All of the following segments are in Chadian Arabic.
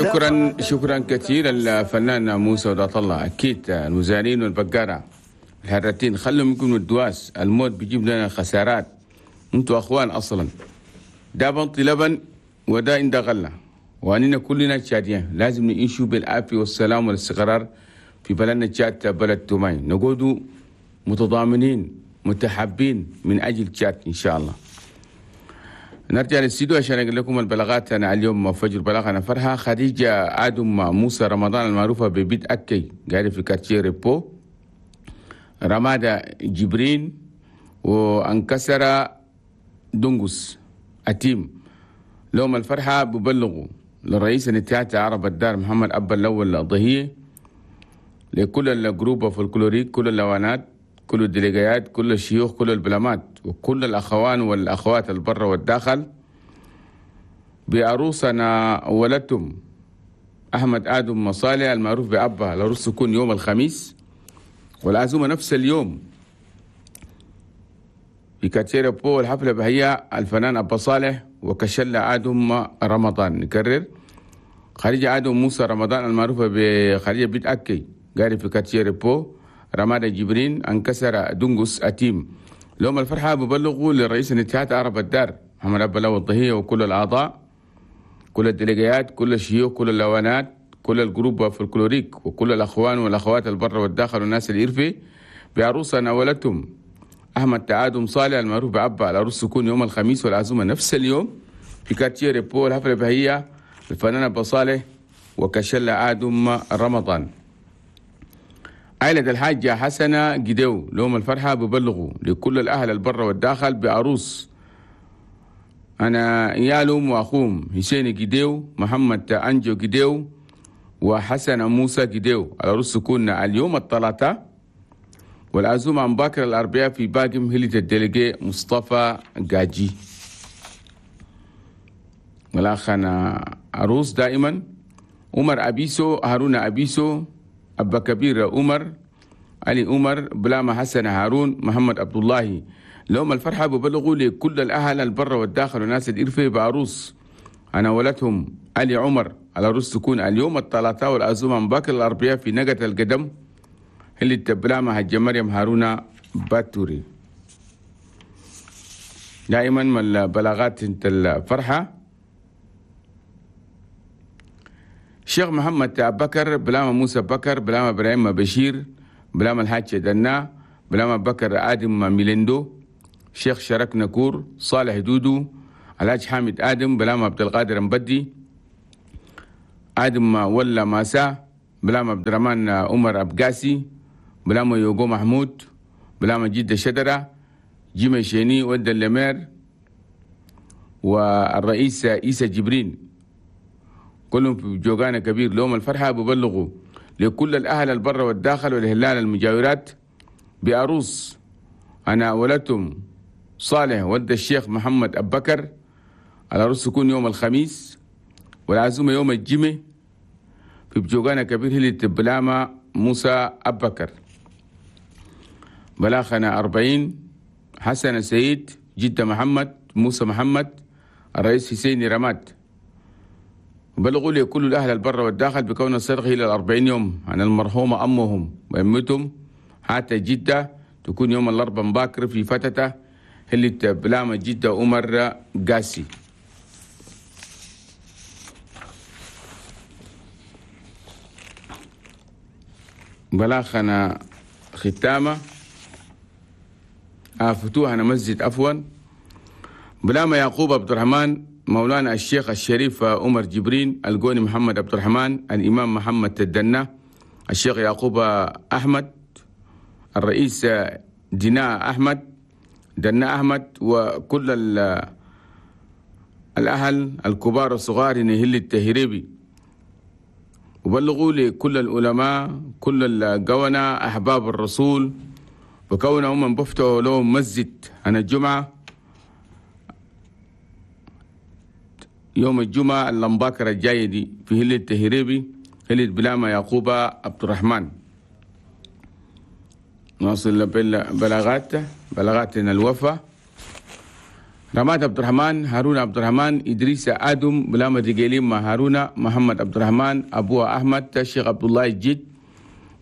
شكرا شكرا كثير الفنان موسى ودات الله. اكيد المزارعين والبقاره الهرتين خلهم يكونوا الدواس، الموت بيجيب لنا خسارات. انتوا اخوان اصلا، ده بنطي لبن وده عند غله، واننا كلنا تشاديين لازم نعيشوا بالعافية والسلام والاستقرار في بلدنا تشاد، بلد توماي، نقعدوا متضامنين متحابين من اجل تشاد ان شاء الله. نرجع للاستديو عشان اقول لكم البلاغات. انا اليوم فجر بلاغنا فرحه خديجة ادم موسى رمضان المعروفة ببيت اكي قاعدة في quartier ريبو، رمادة جبرين وانكسر دنقس أتيم. لهم الفرحة ببلغوا للرئيس الاتحاد عرب الدار محمد أبا الأول الضهية، لكل ال groupe folklorique، كل اللوانات، كل الديليجيات، كل الشيوخ، كل البلامات، وكل الأخوان والأخوات البر والداخل بعروسنا ولدتم أحمد آدم مصالح المعروف بأبا. العروس تكون يوم الخميس والعزومة نفس اليوم في كاتشيرا بو. الحفلة بهي الفنان أبا صالح وكشلة آدم رمضان. نكرر، خديجة آدم موسى رمضان المعروفة بخديجة بيت أكي قاري في كاتشيرا بو، رمادة جبرين انكسر دنقس أتيم. لهم الفرحة ببلغوا للرئيس الاتحاد عرب الدار محمد أبا الأول الضهية وكل الأعضاء، كل الديليجيات، كل الشيوخ، كل اللوانات، كل ال groupe folklorique، وكل الأخوان والأخوات البر والداخل والناس الإرفي بعروسة ناولتهم أحمد تعادم صالح المعروف بعبا. العروس تكون يوم الخميس والعزومة نفس اليوم في quartier ريبو. الحفلة بهية الفنان أبا صالح وكشلة آدم رمضان. عائلة الحاجة حسنة جديو لهم الفرحة ببلغوا لكل الأهل البر والداخل بعروس أنا يالهم وأخوهم حسين جديو، محمد أنجو جديو، وحسن موسى جديو. العروس تكون اليوم الثلاثاء والعزومة عن باكر الأربعاء في باقم هلة ال délégué مصطفى جاجي. والأخ أنا عروس دائما عمر أبيسو، هارون أبيسو، أبا كبير عمر، علي عمر، بلامة حسن هارون، محمد عبد الله. لهم الفرحة ببلغوا لكل الأهل البر والداخل والناس الإرفي بعروس أنا ولدهم علي عمر. العروس تكون اليوم الثلاثاء والعزومة عن باكر الأربعاء في نقة القدم اللي تبلامة حجة مريم هارون باتوري. دائما من البلاغات انت الفرحة الشيخ محمد بكر، بلامة موسى بكر، بلامة إبراهيم بشير، بلامة الحاج دنا، بلامة بكر آدم ميلندو، شيخ شرك نكور، صالح دودو، الحاج حامد آدم، بلامة عبد القادر مبدي، آدم ولا ماسا، بلامة عبد الرحمن عمر أبقاسي، بلامة يوغو محمود، بلامة جدة شدرة، جيمي شيني ود اللمير، والرئيس إيسى جبرين. كلهم في جوغانا كبير. لهم الفرحة ببلغوا لكل الأهل البر والداخل والهلال المجاورات بعروس أنا ولدتم صالح ود الشيخ محمد أبكر. العروس تكون يوم الخميس والعزومة يوم الجمعة في بجوغانا كبير هلة بلامة موسى أبكر. بلاخنا 40 حسن سيد، جدة محمد، موسى محمد، الرئيس حسيني رماد. بلغوا لي كل الأهل البر والداخل بكون الصدق إلى 40 يوم عن المرحومة أمهم وأمتهم حتى جدة تكون يوم الأربعاء مباكر في فتتة اللي بلامة جدة عمر قاسي. بلاخنا ختامة فتوحنا مسجد عفوا بلامة يعقوب عبد الرحمن، مولانا الشيخ الشريف عمر جبرين، القوني محمد عبد الرحمن، الإمام محمد تدنا، الشيخ يعقوب أحمد، الرئيس ديناء أحمد، دنا أحمد، وكل الأهل الكبار والصغار نهل التهريبي. وبلغوا لكل العلماء، كل القونة، أحباب الرسول، وكونهم من بفتحوا لهم مسجد عن الجمعة يوم الجمعة اللمباكرة الجاية دي في هلة التهريبي هلة بلامة يعقوب عبد الرحمن. نواصل بلاغاتنا الوفا. رماد عبد الرحمن، هارون عبد الرحمن، إدريس آدم، بلامة دقيلين مع هارون، محمد عبد الرحمن، أبو أحمد، الشيخ عبد الله الجد،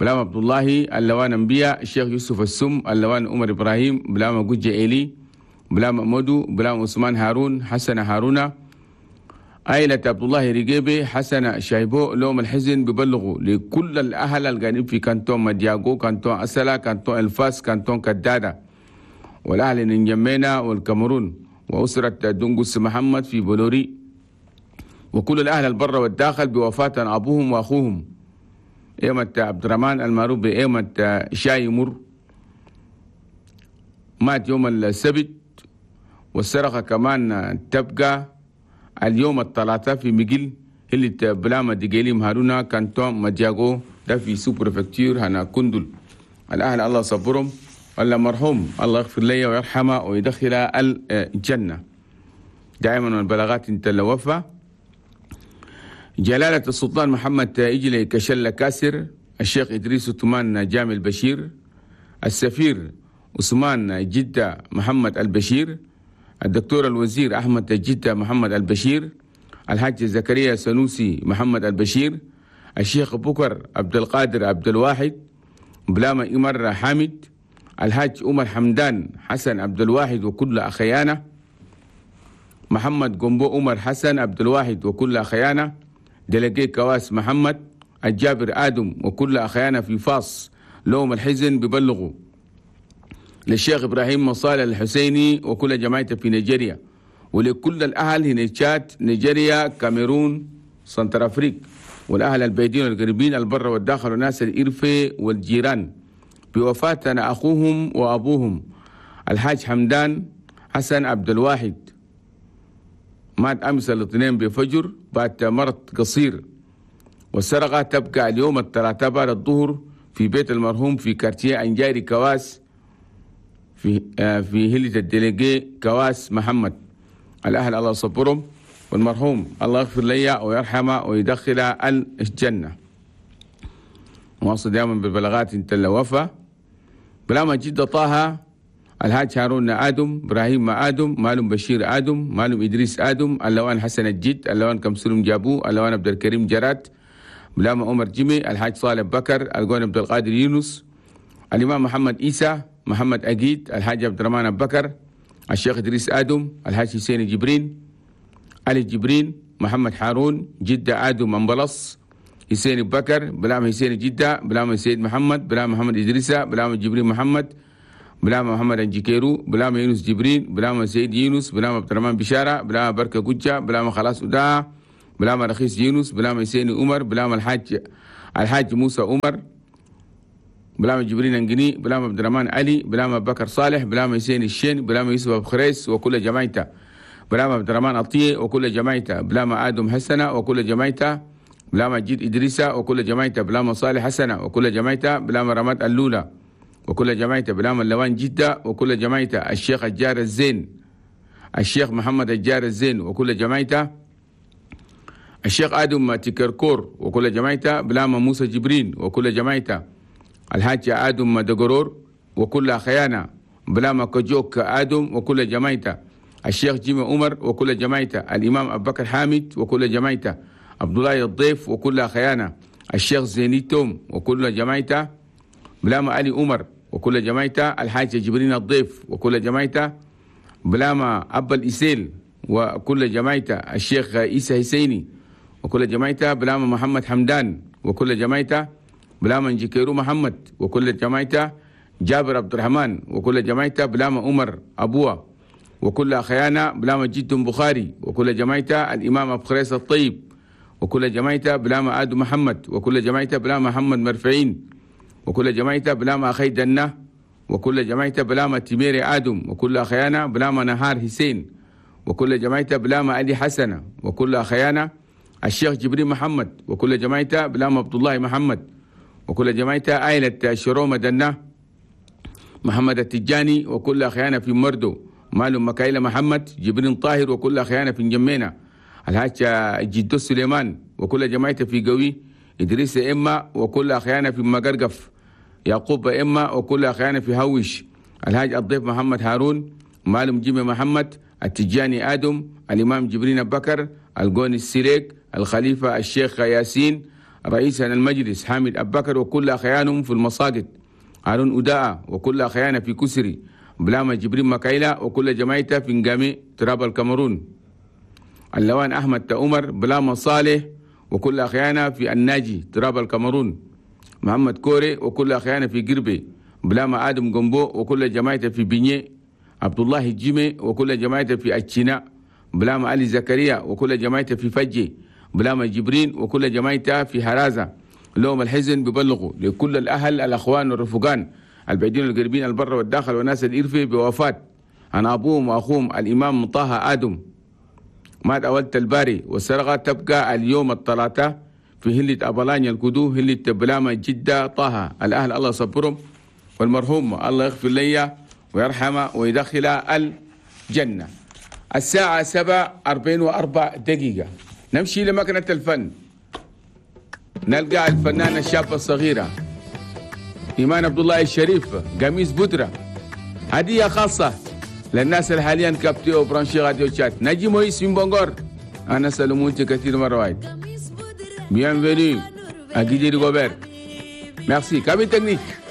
بلام عبد الله، اللوان أنبياء، الشيخ يوسف السم، اللوان عمر إبراهيم، بلام جوجة إيلي، بلام مودو، بلام عثمان هارون، حسن هارون، عائلة عبد الله رجيبي، حسن شايبو. لوم الحزن ببلغوا لكل الأهل القاعدين في كانتون مدياغو، كانتون أسلا، كانتون الفاس، كانتون كدادة، والأهل نجمينا والكاميرون، وأسرة دنقس محمد في بلوري، وكل الأهل البر والداخل بوفاة أبوهم وأخوهم إيمة عبد الرحمن المعروف بإيمة شاي مر، مات يوم السبت. والسرقة كمان تبقى اليوم الثلاثاء في مجل اللي بلاما ديجيليم هارونا كانتون مدياغو، ده في sous-préfecture هنا كندل. الأهل الله صبرهم، ولا مرحوم الله يغفر لي ويرحمه ويدخل الجنة. دائما البلاغات انت الوفا. جلالة السلطان محمد إجلي كشلة كاسر، الشيخ إدريس عثمان جامع البشير، السفير عثمان جدة محمد البشير، الدكتور الوزير أحمد جدة محمد البشير، الحاج زكريا سنوسي محمد البشير، الشيخ بكر عبد القادر عبد الواحد، بلاما إمر حامد، الحاج عمر حمدان حسن عبد الواحد وكل أخيانه، محمد قنبو عمر حسن عبد الواحد وكل أخيانه، دلقي كواس محمد، الجابر آدم وكل أخيانه في فاص. لهم الحزن ببلغوا للشيخ إبراهيم مصالح الحسيني وكل جماعته في نيجيريا، ولكل الأهل هنا تشاد، نيجيريا، كاميرون، سنترافريك، والأهل البعيدين والقريبين، البر والداخل، وناس الإرفي والجيران، بوفاة أخوهم وأبوهم الحاج حمدان حسن عبد الواحد، مات أمس الاثنين بفجر بعد مرض قصير. والسرقة تبقى اليوم الثلاثاء بعد الظهر في بيت المرحوم في quartier أنجاري كواس في هلة ال délégué كواس محمد. الأهل الله يصبرهم، والمرحوم الله يغفر لي ويرحمه ويدخله الجنة. واصل دائما بالبلاغات انت الوفا. بلاما جدة طه، الحاج هارون آدم، إبراهيم آدم، مالم بشير آدم، مالم إدريس آدم، اللوان حسن الجد، اللوان كمسلم جابو، اللوان عبد الكريم جرات، بلاما عمر جيمي، الحاج صالح بكر، القون عبد القادر يونس، الإمام محمد إيسى، محمد أجيد، الحاج عبد الرحمن بكر، الشيخ إدريس آدم، الحاج حسين جبرين، علي جبرين، محمد حارون، جدة آدم أمبلص، حسين بكر، بلام حسين جدة، بلام سيد محمد، بلام محمد إدريسة، بلام جبرين محمد، بلام محمد أنجيكيرو، بلام يونس جبرين، بلام سيد يونس، بلام عبد الرحمن بشارة، بلام بركة كوجة، بلام خلاص ودا، بلام رخيص يونس، بلام حسين عمر، بلام الحاج موسى عمر، بلام جبرين انجني، بلام عبد الرحمن علي، بلام بكر صالح، بلام حسين الشين، بلام يوسف ابو خريس وكل جماعته، بلام عبد الرحمن عطيه وكل جماعته، بلام ادم حسنه وكل جماعته، بلام جيد ادريسه وكل جماعته، بلام صالح حسنه وكل جماعته، بلام رماد اللولا وكل جماعته، بلام اللوان جده وكل جماعته، الشيخ الجار الزين، الشيخ محمد الجار الزين وكل جماعته، الشيخ ادم تكركور وكل جماعته، بلام موسى جبرين وكل جماعته، الحاج آدم دقرور وكل خيانة، بلاما كجوك آدم وكل جماعته، الشيخ جيمي عمر وكل جماعته، الإمام أبو بكر حامد وكل جماعته، عبد الله الضيف وكل خيانة، الشيخ زيني توم وكل جماعته، بلاما علي عمر وكل جماعته، الحاج جبرين الضيف وكل جماعته، بلاما أبا الإسيل وكل جماعته، الشيخ عيسى حسيني وكل جماعته، بلاما محمد حمدان وكل جماعته، بلاما جيكيرو محمد وكل جماعته، جابر عبد الرحمن وكل جماعته، بلاما عمر أبوه وكل خيانة، بلاما جد بخاري وكل جماعته، الإمام أبو خريس الطيب وكل جماعته، بلاما آدم محمد وكل جماعته، بلاما محمد مرفعين وكل جماعته، بلاما أخي دنة وكل جماعته، بلاما تيميري آدم وكل خيانة، بلاما نهار حسين وكل جماعته، بلاما علي حسنة وكل خيانة، الشيخ جبريل محمد وكل جماعته، بلاما عبد الله محمد وكل جماعته، عائلة شرومة دنة محمد التجاني وكل خيانة في مردو، مالو مكايلة محمد جبرين طاهر وكل خيانة في جمينة، الحاج جدو سليمان وكل جماعته في قوي، إدريس إما وكل خيانة في مقرقف، يعقوب إما وكل خيانة في هوش، الحاج الضيف محمد هارون، مالم جيمي محمد، التجاني آدم، الإمام جبرين بكر، القوني السريك، الخليفة الشيخ ياسين، رئيس المجلس حامد أبكر وكل أخيانهم في المساجد، هارون أداء وكل أخيانا في كسري، بلاما جبرين مكايلا وكل جماعته في نقامي تراب الكاميرون، اللوان أحمد تأمر، بلاما صالح وكل أخيانا في الناجي تراب الكاميرون، محمد كوري وكل أخيانا في قربي، بلاما آدم جنبو وكل جماعته في بني، عبد الله الجيمي وكل جماعته في أتشينا، بلاما علي زكريا وكل جماعته في فجي، بلاما جبرين وكل جماعته في هرازة. لهم الحزن ببلغوا لكل الأهل الأخوان والرفقان البعيدين والقريبين البر والداخل والناس الإرفي بوفاة عن أبوهم وأخوهم الإمام طه آدم، مات أولت الباري، والسرقة تبقى اليوم الثلاثاء في هلة أبلانيا الكدو هلة بلاما جدة طه. الأهل الله صبرهم، والمرحوم الله يغفر لي ويرحمه ويدخل الجنة. الساعة 7:44 نمشي لمكنة الفن، نلقى الفنانة الشابة الصغيرة إيمان عبد الله الشريف، قميص بودرة، هدية خاصة للناس اللي حاليا captés و branchés راديو تشاد. نجي مويس من بونغور، أنا سلمونتي كثير مرة واحد. Bienvenue à Guy Rigobert. Merci. Cabine technique.